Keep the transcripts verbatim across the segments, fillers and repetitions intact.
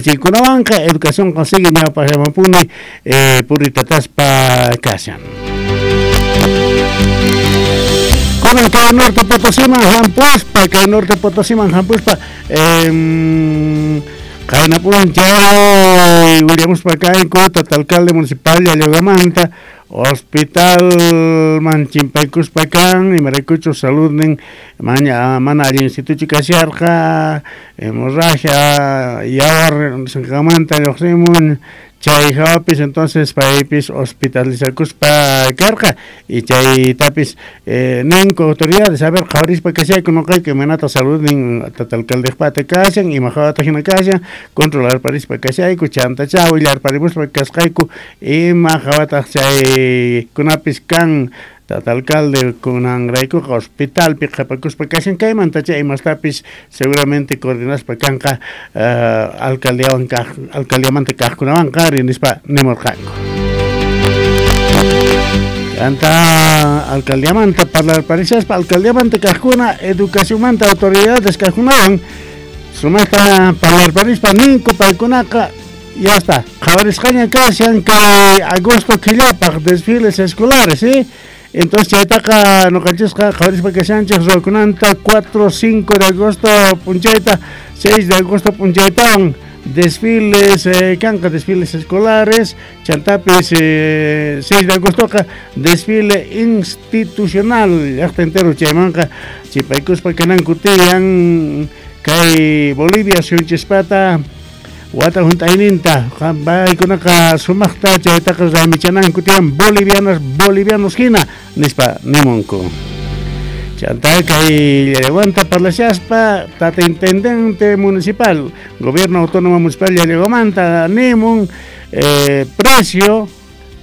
Chaykunawanqa educación sigue ñawpaqllamanpuni eh, puritataspa kashan. Kunan kay Norte Potosíman hampuspa, kay Norte Potosíman hampuspa, eh, qayna p'unchay willamuspa kanku tata alcalde municipal Llallagamanta hospitalman chimpaykuspa kan imaraykuchus saludnin maña mana allin institucho kasharqa hemorragia yawar sinqamanta lluqsimun chay hawapis entonces paypis hospitalizakuspa karqa y chaytapis eh, ninku autoridades a ver qhawarispa kashayku nuqayku imaynata saludnin tata alcaldejpata kashan ima hawata hina kashan controlarparispa kashayku chantacha willarparimuspa kasqayku ima hawataq chaykunapis kan tata alcalde kunanraykuqa hospitalpi qhapakuspa kashan kaymantacha imastapis seguramente coordinaspa kanqa uh, alcaldiawan kaq alcaldiamanta kaqkunawanqa ari nispa nimurqanku. Chanta alcaldiamanta parlarparishaspa alcaldiamanta kaqkuna educacionmanta autoridades kaqkunawan sumaqta parlarparispa ninku paykunaqa ya está qhawarisqaña kashan kay agosto killapaq desfiles escolares, ¿sí? Entonces chaytaqa nuqanchisqa qhawarispa kashanchik ruwakunanta cuatro, cinco de agosto p'unchayta, seis de agosto p'unchaytawan desfiles eh, kanqa desfiles escolares, chantapis eh, seis de agostoqa desfile institucional llaqta entero chaymanqa chipaykuspa kananku tiyan kay Bolivia suyunchispata wata hunt'ayninta paykunaqa sumaqta chaytaqa raymichananku tiyan bolivianas bolivianos hina nispa nimunku. Chanta kay Llallagomanta parlashaspa tata intendente municipal gobierno autónomo municipal Llallagomanta nimun eh, precio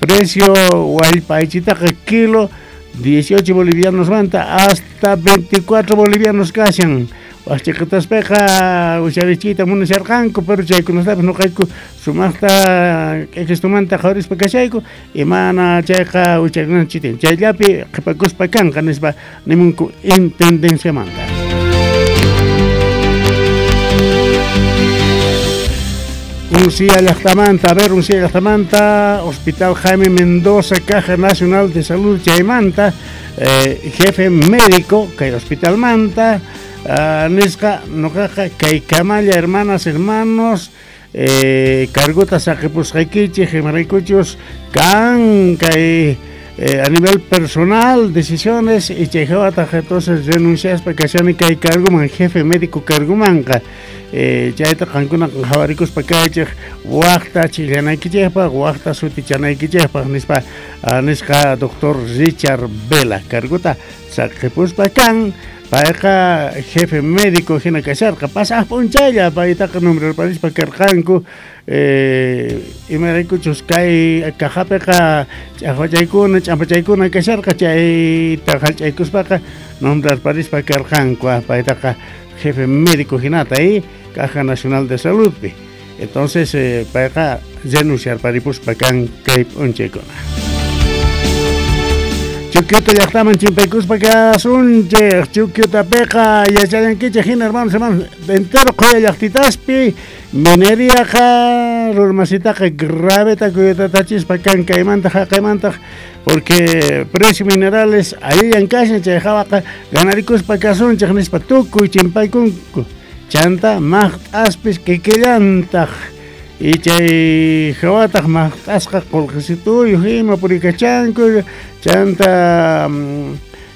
precio wallpaychitaqa kilo dieciocho bolivianos manta hasta veinticuatro bolivianos kashan. Wach'iqitaspaqa usharichiyta munasharqanku pero chaykunastapis nuqayku sumaqta k'ikistumanta qhawarispa kashayku imana chayqa uchakunanchik tiyan chayllapi qhipakuspa kanqa nispa nimunku intendenciamanta. Uncía llaqtamanta, a ver, Uncía llaqtamanta, Hospital Jaime Mendoza, Caja Nacional de Salud chaymanta, eh, jefe médico kay hospital manta, Uh, nisqa nuqaqa kay kamalla hermanas hermanos eh, cargota saqipusqaykichik imaraykuchus kan kay eh, a nivel personal decisiones y chay hawataq entonces renunciaspa kashani kay carguman jefe médico cargumanqa eh, chayta qankuna qhawarikuspa kaychik waqta chillanaykichikpaq waqta sutichanaykichikpaq nispa uh, nisqa doctor Richard Vela cargota saqipuspa kan payqa jefe médico hina kasharqa pasaq p'unchaylla paytaqa nombrarparispa karqanku eh, imaraykuchus kay cajapiqa ch'aqwachaykuna ch'ampachaykuna kasharqa chayta hallch'aykuspaqa nombrarparispa karqanku paytaqa jefe médico hinata y Caja Nacional de Saludpi entonces eh, payqa renunciarparipuspa kan kay p'unchaykuna. Chukyuta llaqtaman chimpaykuspa kasunchik Chukyutapiqa yachallankichik hina hermanos hermanos entero qhuya llaqtitaspi mineriaqa rurmasitaqa graveta kuyutatachispa kan kaymanta haqaymanta porque precio minerales allillan kashan chay hawaqa ganarikuspa kasunchik nispa tukuy chimpaykunku chanta maqt'aspis kikillantaq y chay hawataq maqt'asqa qullqisituyuq ima purikachanku chanta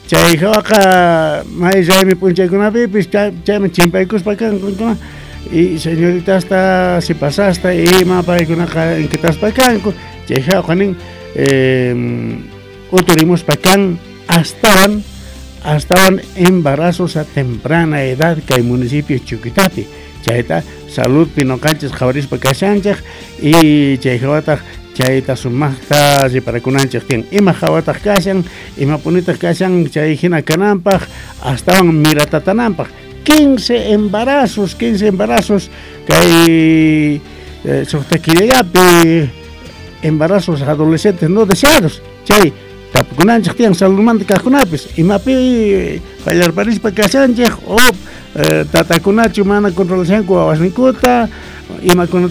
chay hawaqa may raymi p'unchaykunapipis chayman chimpaykuspa kanku y señoritasta sipasasta ima paykunaqa inquitaspa kanku chay hawaqa nin eh, uturimuspa kan astawan astawan embarazos a temprana edad kay municipio Chuquitapi chayta saludpi nuqanchis qhawarispa kashanchik y chay hawataq chayta sumaqta riparakunanchik tiyan ima hawataq kashan imapunitaq kashan chay hina kananpaq astawan miratatananpaq quince embarazos quince embarazos kay eh, suqta killallapi embarazos adolescentes no deseados chay tapukunanchik tiyan saludmanta kaqkunapis imapi qallarparispa kashanchik o eh, tatakunachu mana controlashanku wawasninkuta imakunata